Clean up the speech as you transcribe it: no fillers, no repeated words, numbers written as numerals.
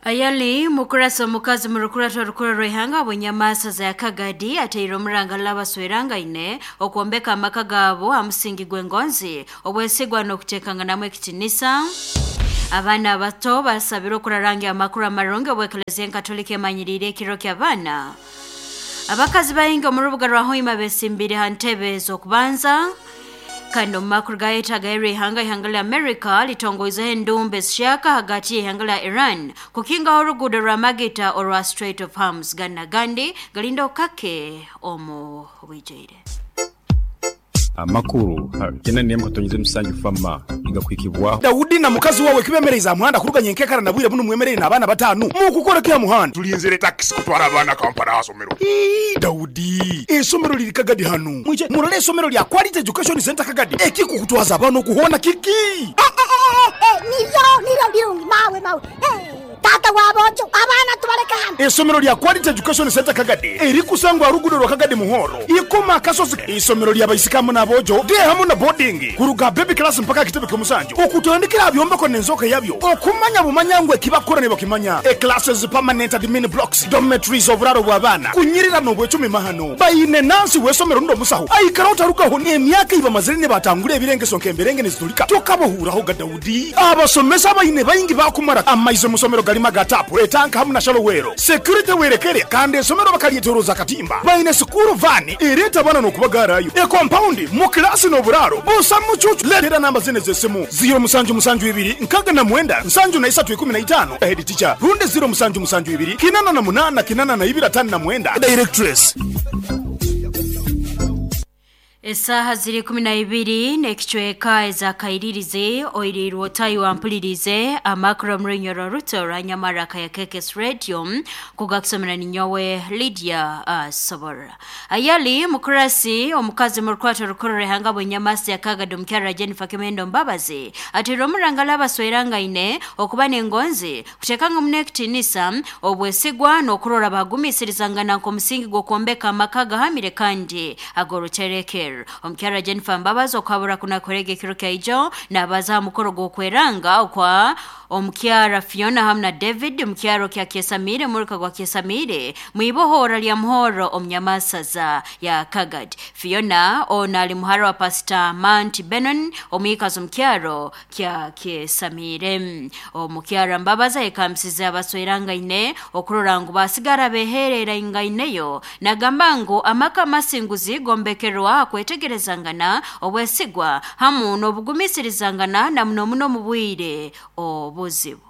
Ayali mukurasa omukazi murukurata orukura rw'ihanga bwenyamasa za Kagadi ateire omuranga labaswerangaine okwombeka amaka gaabo ha musingi gw'engonzi obwesigwa n'okuteekanganamu ekitinisa. Abaana abato basabirwe okurarangya amakuru amarungi obw'eklezia enkatolika emanyiriire ekiro ky'abaana. Abakazi baingi omu rubuga rwa Hoima besimbire ha ntebe z'okubanza. Kandi omu makuru gayetagairwe ihanga, ihanga lya America litongoizeho endumba ezishyaka hagati y'ihanga lya Iran kukingaho oruguudo rwa Magita orwa Strait of Hormuz. Ganu n'agandi galinda okukake omu bwijaire. Amakuru gena n'emwe katonyize musanju fama nigakuhikibwaho. Daudi na mukazi wawe kibemereize aha muhanda kuruga nyenkekara na bwire bunu mwemereire n'abaana batanu mukukora ki aha muhanda? Tulinzire takisi kutwara abaana Kampala aha somero. Ii, Daudi, eisomero liri Kagadi hanu. Mwije murole eisomero lya Quality Education Centre Kagadi. Ekikukutwaza abaana oku hoona kiki? Eh, eh, eh, niryo, niryo birungi, mawe, mawe. Eh, taata w'aboojo, abaana tubaleke hanu. Eisomero lya Quality Education Centre Kagadi erikusangwa aha ruguudo rwa Kagadi Muhoro, Ikoma Akasozi. Eisomero lya baisiki hamu n'aboojo, day hamu na boarding, kuruga aha baby class mpaka aha kitebe ky'omusanju, okutandikira aha byombeko n'enzooka yabyo, okumanya bumanya ngu eki bakukora nibakimanya. E Classes, permanent admin blocks, dormitories, oburaaro bw'abaana, kunyirira n'obwecumi mahano. Baine nansi w'eisomero rundi omusaho aikara otarugaho n'emyaka ei bamazire nibatangura ebirengeso nk'emberenge niziturika tokabohuuraho ga Daudi. Abasomesa abaine baingi baakumara amaizi omu somero garimu aga taapu, etanka hamu na shallow well. Security werekere kandi eisomero bakaryetoroza akatimba. Baine sikuuru vaani ereeta abaana n'okubagaarayo. Ekompaundi, mu kilaasi n'oburaaro busa mucuucu. Leetera namba zinu ez'esimu, ziiro musanju musanju ibiri nkaga na mwenda nsanju na isatu ikumi na itaano, Head teacher, rundi ziiro musanju musanju ibiri kinana na munana kinana na ibiri atano na mwenda, Directress. Esaaha ziri 12 n'ekicweka ezakairirize oiriirwe otayi wampulirize amakuru omu runyoro ruto rwa Nyamara ya KKS Radio kugakusomera ninyowe Lydia Sobora. Ayali mukurasi omukazi mu rukwato rukuru rw'ihanga bwenyamasi ya Kagadi omukyara Jennifer Kimendo Mbabazi ateire omuranga labaswerangaine okuba n'engonzi kuteekanga muno ekitinisa obwesigwa n'okurora bagumiisirizangana nk'omusingi gw'okwombeka amaka gahamire kandi ag'oruterekero. Omukyara Jennifer Mbabazi okwabura kunakorega ekiro kyaijo nabaza aha mukoro gw'okweranga okwa omukyara Fiona hamu na David omukyaro kya Kyesamire muruka gwa Kyesamire mwibohora lya Muhoro omunyamasaza ya Kagadi. Fiona ono ali muhara wa Pastor Mount Benon omwikazi omukyaro kya Kyesamire. Omukyara Mbabazi ayekambisize abaswerangaine okurora ngu basigara beherera ingaineyo nagamba ngu amaka amasinguzi gombekerwa kwetegerezangana obwesigwa hamu n'obugumiisirizangana na muno muno mu bwire obuzibu.